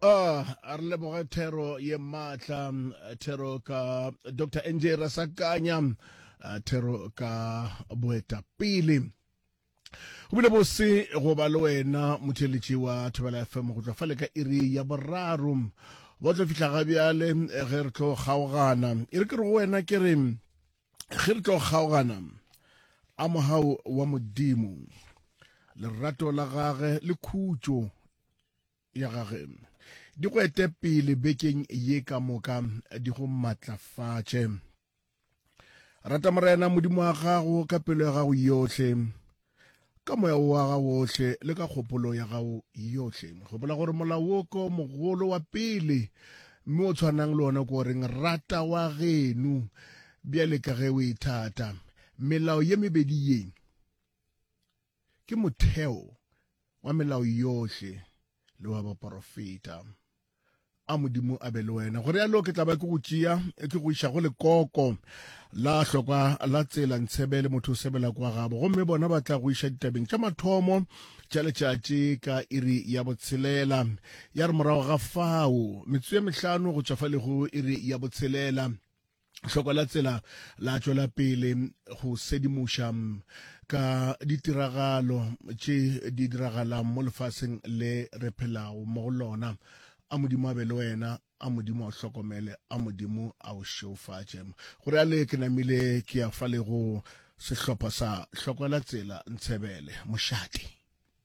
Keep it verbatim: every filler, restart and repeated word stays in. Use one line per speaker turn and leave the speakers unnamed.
Ah, a re leboge thero ye maatla, thero ka Doctor N J Rasakanya, ah, thero ka boetapele. Go bile bose go ba le wena, motheletši wa Thobela F M, go tšwa fale ka iri ya boraro ba tlo fihla ga bjale ge re tlo kgaogana. E re ke re go wena, ke re ge re tlo kgaogana, a mogau wa Modimo, lerato la gage le khutšo ya gage di go ete pele bekeng ye ka moka, di go matlafatše. Rata Morena Modimo wa gago ka pelo ya gago yohle, ka moya wa gago ohle le ka kgopolo ya gago yohle. Gopola gore molao wo ko mogolo wa pele, mme o tshwanang le ona ko reng rata wa geno bjale ka ge o ithata. Melao ye mebedi ye ke motheo wa melao yohle le wa baporofeta. A Modimo a be le wena. Gore yalo ke tla ba ke go tšea ke go iša go lekoko la hlokwa la tsela ntshebele, motho o sebela kwa gabo, gomme bona ba tla go iša ditabeng tša mathomo tša letšatši ka iri ya botshelela. Ya re morago ga fao, metsotso ye mehlano go tšwa fa le go iri ya botshelela, hloko la tsela la tšwela pele go sedimoša ka ditiragalo tše di diragalang mo lefaseng le re phelago mo go lona. A Modimo a be le wena, a Modimo a o hlokomele, a Modimo a o šeofatše. Gore ale ke namile ke ya fa le go sehlopha sa hloko la tsela ntshebele mošate.